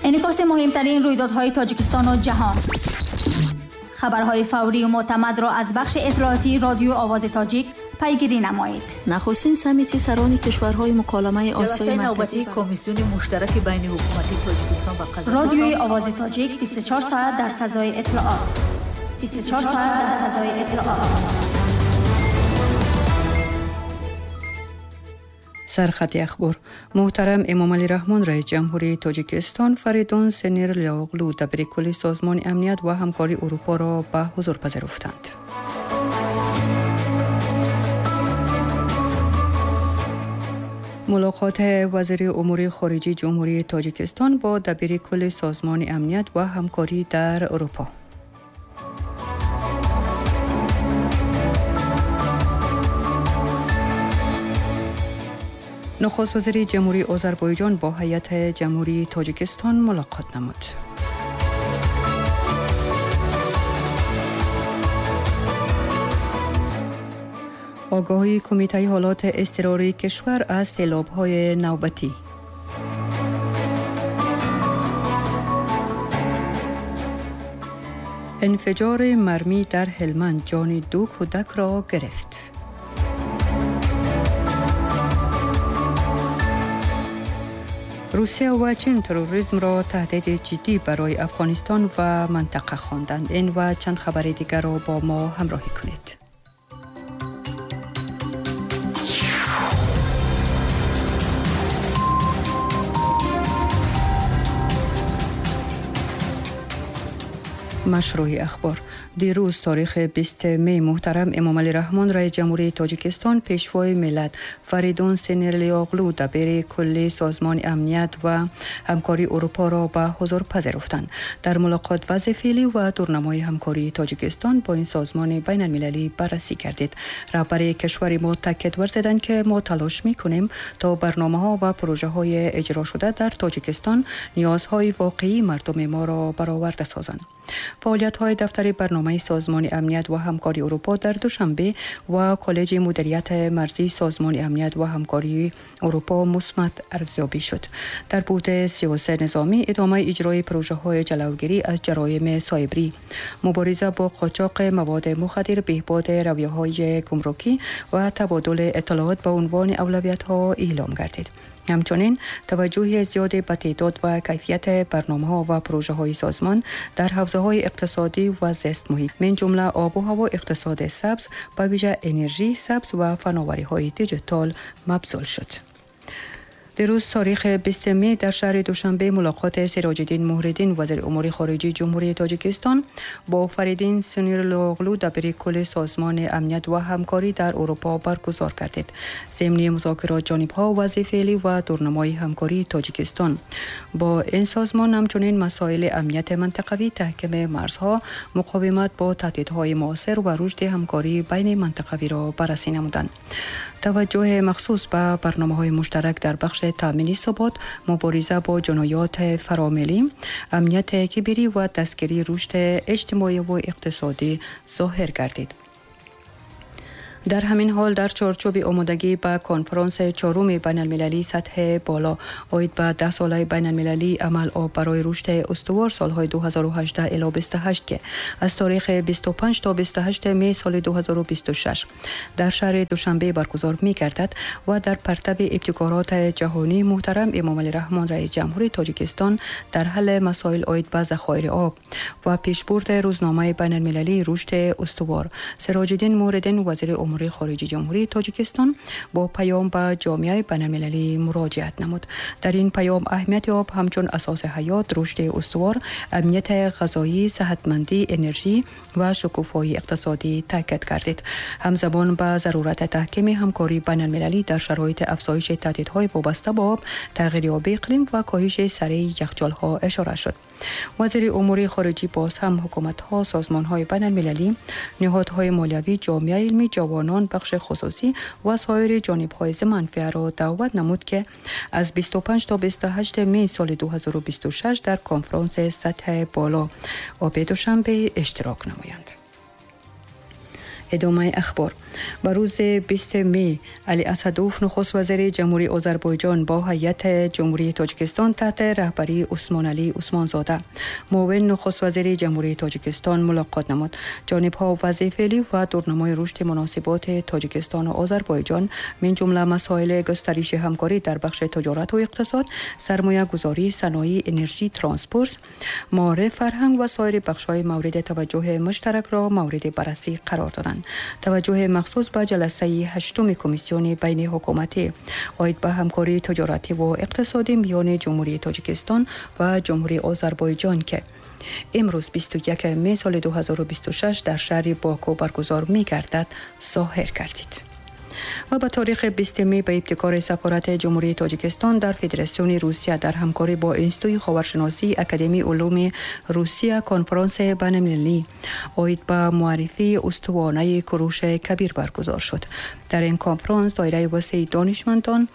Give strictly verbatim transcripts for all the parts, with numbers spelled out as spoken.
Инъикоси муҳимтарин рӯйдодҳои Тоҷикистону ҷаҳон. Хабарҳои фаврию мӯътамадро аз бахши иттилоотии радиои Овози Тоҷик пайгирӣ намоед. Нахустин саммити сарони кишварҳои муколамаи Осиёи Ҷаласаи навбатии Марказӣ комиссиони муштараки байни ҳукумати Тоҷикистон ва Қазоқистон. Радиои Овози Тоҷик бисту чор соат дар фазои иттилоот. бисту чор соат дар фазои иттилоот. Сархати ахбор. Муҳтарам Эмомалӣ Раҳмон, раис ҷумҳурии Тоҷикистон, Фаридун Синирлиоғлу, дабири кулли Созмони амният ва ҳамкории Урупоро ба ҳузур пазируфтанд. Мулоқоти вазири умури хориҷии Ҷумҳурии Тоҷикистон бо дабири кулли Созмони амният ва ҳамкорӣ дар Урупо. Нахуст вазири Ҷумҳурии Озарбойҷон бо ҳайати Ҷумҳурии Тоҷикистон мулоқот намуд. Огаҳии Кумитаи ҳолати изтирории кишвар аз селобҳои навбатӣ. Инфиҷори мармӣ дар Ҳелманд ҷони ду кӯдакро гирифт. Русия ва Чин терроризмро таҳдиди ҷиддӣ барои Афғонистон ва минтақа хонданд. Ин ва чанд хабари дигарро бо мо ҳамроҳӣ кунед. Машрӯҳи ахбор. Дирӯз тарихи бисту май муҳтарам Эмомалӣ Раҳмон, раис ҷумҳурии Тоҷикистон, пешвои миллат Фаридун Синирлиоғлу, дабири кулли Созмони амният ва ҳамкории Урупоро ба ҳузур пазируфтанд. Дар мулоқот вазъи феълӣ ва дурнамои ҳамкории Тоҷикистон бо ин созмони байналмилалӣ баррасӣ гардид. Раҳбари кишвари мо таъкид варзиданд, ки мо талош мекунем то барномаҳо ва пурӯжаҳои иҷрошуда дар Тоҷикистон ниёзҳои воқеии мардуми моро бароварда созанд. Фаъолиятҳои дафтари барномаи Созмони амният ва ҳамкории Урупо дар Душанбе ва Коллеҷи мудирияти марзии Созмони амният ва ҳамкории Урупо мусбат арзёбӣ шуд. Дар буди сиёсати низомӣ идомаи иҷрои пурӯжаҳои ҷалавгирӣ аз ҷароими сайбрӣ, мубориза бо қочоқи маводи мухаддир, беҳбуди равияҳои гумрукӣ ва табодули иттилоот ба унвони авлавиятҳо эълом гардид. Ҳамчунин таваҷҷӯҳи зиёде ба теъдод ва кайфияти барномаҳо ва пурӯжаҳои созмон дар ҳавзаҳои иқтисодӣ ва зистмуҳит, мин ҷумла обу ҳаво, иқтисоди сабз, ба вижа энержии сабз ва фановариҳои диҷитал мабзул шуд. Дирӯз тарихи бисту май дар шаҳри Душанбе мулоқоти Сироҷиддин Муҳриддин, вазири умури хориҷии Ҷумҳурии Тоҷикистон, бо Фаридун Синирлиоғлу, дабири кулли Созмони амният ва ҳамкорӣ дар Урупо баргузор гардид. Зимни музокирот ҷонибҳо вазъи феълӣ ва дурнамои ҳамкории Тоҷикистон бо ин созмон, ҳамчунин масоили амнияти минтақавӣ, таҳкими марзҳо, муқовимат бо таҳдидҳои муосир ва рушди ҳамкории байни минтақавиро баррасӣ намуданд. Таваҷҷӯҳи махсус ба барномаҳои муштарак дар бахши таъмини субот, мубориза бо ҷиноёти фаромиллӣ, амнияти киберӣ ва дастгирии рушди иҷтимоӣ ва иқтисодӣ зоҳир гардид. Дар ҳамин ҳол дар чорчӯби омодагӣ ба конфронси чоруми байналмилалии сатҳи боло оид ба даҳсолаи байналмилалии амал об барои рушди устувор солҳои ду ҳазору ҳаждаҳ ило бисту ҳашт, ки аз таърихи бисту панҷ то бисту ҳашт май соли ду ҳазору бисту шаш дар шаҳри Душанбе баргузор мегардад ва дар партави ибтикороти ҷаҳонии муҳтарам Эмомалӣ Раҳмон, раис ҷумҳурии Тоҷикистон, дар ҳалли масоил оид ба захоири об ва пешбурди рӯзномаи байналмилалии рушди устувор, Сироҷиддин Муҳриддин, вазири умури хориҷии Ҷумҳурии Тоҷикистон, бо паём ба ҷомеаи байналмилалӣ муроҷиат намуд. Дар ин паём аҳамияти об ҳамчун асоси ҳаёт, рушди устувор, амнияти ғизоӣ, саҳатмандӣ, энержӣ ва шукуфоии иқтисодӣ таъкид гардид. Ҳамзамон ба зарурати таҳкими ҳамкории байналмилалӣ дар шароити афзоиши таҳдидҳои вобаста ба об, тағйирёбии иқлим ва коҳиши сареи яхчолҳо ишора шуд. Вазири умури хориҷӣ боз ҳам ҳукуматҳо, созмонҳои байналмилалӣ, ниҳодҳои молиявӣ, ҷомеаи илмӣ, ҷавонон, бахши хусусӣ ва соири ҷонибҳои зиманфиаро даъват намуд, ки аз бисту панҷ то бисту ҳашт май соли ду ҳазору бисту шаш дар конфронси сатҳи боло оби Душанбе иштирок намоянд. ادامه اخبار. به روز بیست می علی اسدوف نخست وزیر جمهوری آذربایجان با هیئت جمهوری تاجیکستان تحت رهبری عثمان علی عثمانزاده معاون نخست وزیر جمهوری تاجیکستان ملاقات نمود. جانب‌ها وضع فعلی و دورنمای رشد مناسبات تاجیکستان و آذربایجان من جمله مسائل گسترش همکاری در بخش تجارت و اقتصاد، سرمایه گذاری، صنایع، انرژی، ترانسپورت، معارف، فرهنگ و سایر بخش‌های مورد توجه مشترک را مورد بررسی قرار دادند. توجه مخصوص به جلسه هشتم کمیسیون بین حکومتی عاید به همکاری تجارتی و اقتصادی میان جمهوری تاجیکستان و جمهوری آذربایجان که امروز بیست و یکم می سال دو هزار و بیست و شش در شهر باکو برگزار می‌گردد ظاهر گردید. و به تاریخ بیست می به ابتکار سفارت جمهوری تاجیکستان در فدراسیون روسیه در همکاری با انستیتوی خاورشناسی اکادمی علوم روسیه کنفرانس بین‌المللی عاید به معرفی استوانه کوروش کبیر برگزار شد. در این کنفرانس دایره وسیع دانشمندان،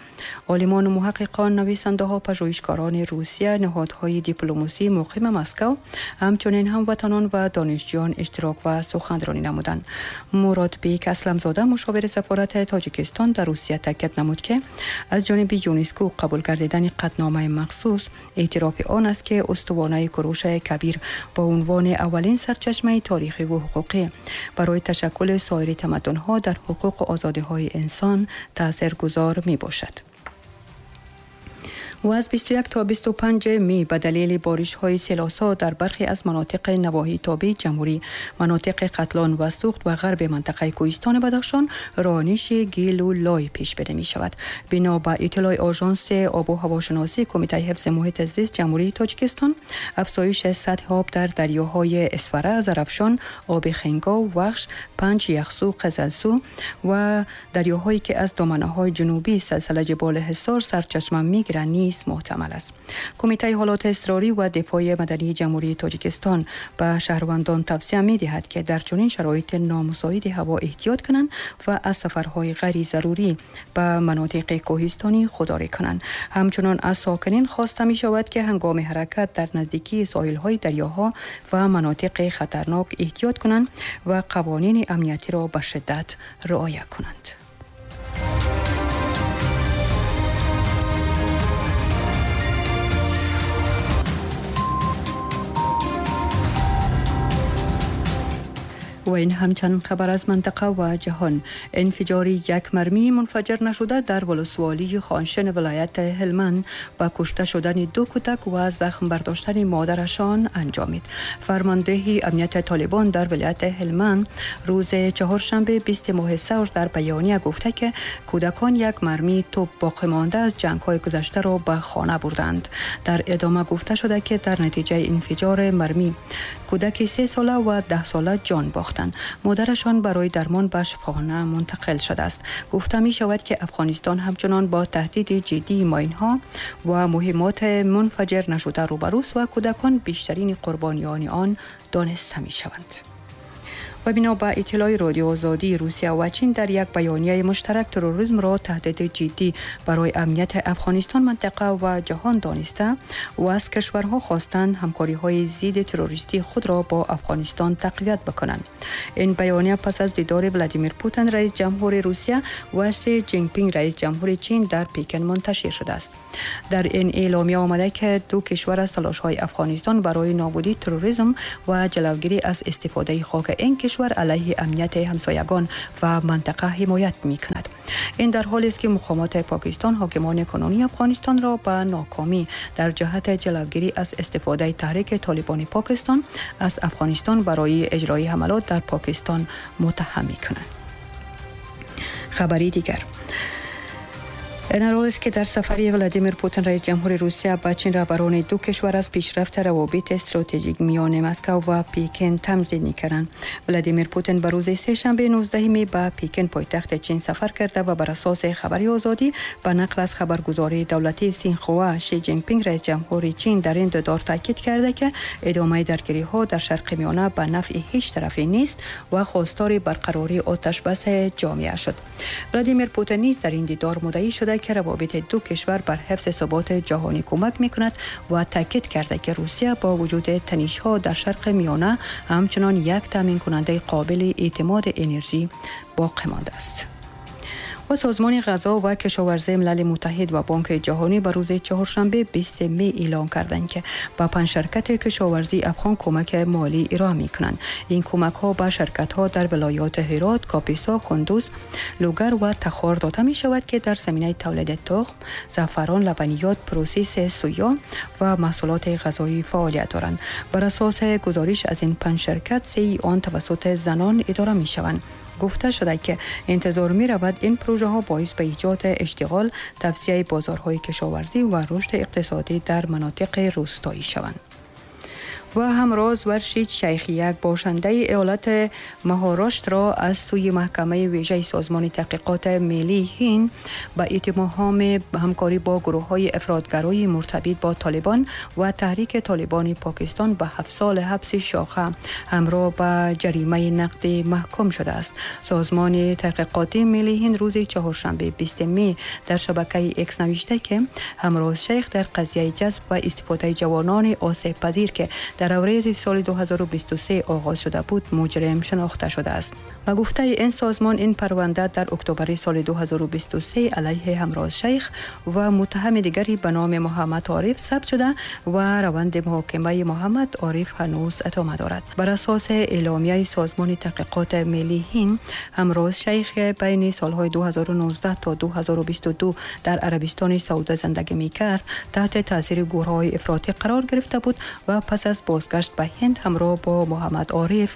عالمان و محققان، نویسنده‌ها، پژوهشگران روسیه، نهادهای دیپلماسی مقیم مسکو، همچنین هموطنان و دانشجویان اشتراک و سخنرانی نمودند. مراد بیک اسلمزاده مشاور سفارت تاجیکستان در روسیه تاکید نمود که از جانب یونسکو قبول گردیدن قطعنامه مخصوص اعتراف آن است که استوانه کوروش کبیر با عنوان اولین سرچشمه تاریخی و حقوقی برای تشکل سایر تمدن‌ها در حقوق و آزادی‌های انسان تاثیرگذار می‌باشد. و از بیست و یک تا بیست و پنج می به دلیل بارش‌های سیلاسا در برخی از مناطق نواحی تابع جمهوری، مناطق قتلان و سوخت و غرب منطقه کوهستان بدخشان رانش گیل و لای پیش بینی می شود. بنا به اطلاع آژانس آب و هواشناسی کمیته حفظ محیط زیست جمهوری تاجیکستان، افزایش سطح آب در دریاهای اسفره، زرافشان، آب خنگا، وخش، پنج یخسو، قزلسو و دریاهایی که از دامنه‌های جنوبی سلسله جبال حصار سرچشمه می‌گیرند محتمل است. کمیته حالات اضطراری و دفاع مدنی جمهوری تاجیکستان به شهروندان توصیه می‌دهد که در چنین شرایط نامساعد هوا احتیاط کنند و از سفرهای غیر ضروری به مناطق کوهستانی خودداری کنند. همچنان از ساکنین خواسته می‌شود که هنگام حرکت در نزدیکی ساحل‌های دریاها و مناطق خطرناک احتیاط کنند و قوانین امنیتی را به شدت رعایت کنند. و این همچنین خبر از منطقه و جهان. انفجار یک مرمی منفجر نشده در ولسوالی خانشن ولایت هلمند با کشته شدن دو کودک و زخم برداشتن مادرشان انجامید. فرماندهی امنیت طالبان در ولایت هلمند روز چهارشنبه بیست ماه ثور در بیانیه گفته که کودکان یک مرمی توپ باقی مانده از جنگ‌های گذشته را به خانه بردند. در ادامه گفته شده که در نتیجه انفجار مرمی کودک سه ساله و ده ساله جان باختند. مادرشان برای درمان به شفاخانه منتقل شده است. گفته می شود که افغانستان همچنان با تهدید جدی ماین‌ها و مهمات منفجر نشده روبروست و کودکان بیشترین قربانیان آن دانسته می شوند. و بنا به اطلاع رادیو آزادی، روسیه و چین در یک بیانیه مشترک تروریسم را تهدید جدی برای امنیت افغانستان، منطقه و جهان دانسته و از کشورها خواستند همکاری‌های ضد تروریستی خود را با افغانستان تقویت بکنند. این بیانیه پس از دیدار ولادیمیر پوتین رئیس جمهور روسیه و شی جین پینگ رئیس جمهور چین در پکن منتشر شده است. در این اعلامیه آمده که دو کشور از تلاش‌های افغانستان برای نابودی تروریسم و جلوگیری از استفاده خاک این کشور علیه امنیت همسایگان و منطقه حمایت می کند. این در حالی است که مقامات پاکستان حاکمان کنونی افغانستان را به ناکامی در جهت جلوگیری از استفاده تحریک طالبان پاکستان از افغانستان برای اجرای حملات در پاکستان متهم می کنند. خبری دیگر، این در حالی است که در سفری ولادیمیر پوتین رئیس جمهور روسیه به چین رهبران دو کشور از پیشرفت روابط استراتژیک میان مسکو و پکن تمجید می‌کردند. ولادیمیر پوتین به روز سه شنبه نوزدهم می به پکن پایتخت چین سفر کرده و بر اساس خبری آزادی به نقل از خبرگزاری دولتی سینخوا، شی جین پینگ رئیس جمهور چین در این دیدار تاکید کرده که ادامه درگیری‌ها در شرق میانه به نفع هیچ طرفی نیست و خواستار برقراری آتش بس جامعه شد. ولادیمیر پوتین نیز در این دیدار مدعی شده که روابط دو کشور بر حفظ ثبات جهانی کمک می‌کند و تاکید کرده که روسیه با وجود تنش‌ها در شرق میانه همچنان یک تامین کننده قابل اعتماد انرژی باقی مانده است. و سازمان غذا و کشاورزی ملل متحد و بانک جهانی به روز چهارشنبه بیست می اعلام کردند که به پنج شرکت کشاورزی افغان کمک مالی ارائه می‌کنند. این کمک‌ها به شرکت‌ها در ولایات هرات، کاپیسا، کندوز، لوگر و تخار داده می‌شود که در زمینه تولید تخم، زعفران، لبنیات، پروسس سویا و محصولات غذایی فعالیت دارند. بر اساس گزارش از این پنج شرکت، سه آن توسط زنان اداره می‌شوند. گفته شده که انتظار می رود این پروژه ها باعث به ایجاد اشتغال، توسعه بازارهای کشاورزی و رشد اقتصادی در مناطق روستایی شوند. و همراز ورشید شیخ، یک باشنده ایالت مهاراشتر را از سوی محکمه ویژه سازمان تحقیقات ملی هند به اتهام همکاری با گروه‌های افراط‌گرای مرتبط با طالبان و تحریک طالبان پاکستان به هفت سال حبس شاخه همراه با جریمه نقدی محکوم شده است. سازمان تحقیقات ملی هند روز چهارشنبه بیست می در شبکه ایکس نوشته که همراز شیخ در قضیه جذب و استفاده جوانان آسیب پذیر که در اوریل سال دو هزار و بیست و سه آغاز شده بود مجرم شناخته شده است. و گفته این سازمان این پرونده در اکتبر سال دو هزار و بیست و سه علیه همراز شیخ و متهم دیگری به نام محمد عارف ثبت شده و روند محاکمه محمد عارف هنوز ادامه دارد. بر اساس اعلامیه سازمان تحقیقات ملی هند، همراز شیخ بین سالهای دو هزار و نوزده تا دو هزار و بیست و دو در عربستان سعودی زندگی می‌کرد، تحت تاثیر گروه‌های افراطی قرار گرفته بود و پس از بازگشت به هند همراه با محمد عارف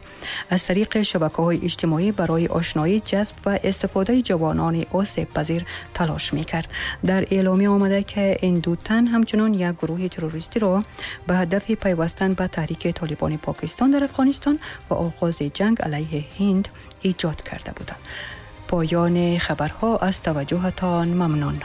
از طریق شبکه‌های اجتماعی برای آشنایی، جذب و استفاده جوانان آسیب پذیر تلاش می‌کرد. در اعلامیه آمده که این دو تن همچنان یک گروه تروریستی را به هدف پیوستن به تحریک طالبان پاکستان در افغانستان و آغاز جنگ علیه هند ایجاد کرده بودند. پایان خبرها. از توجهتان ممنون.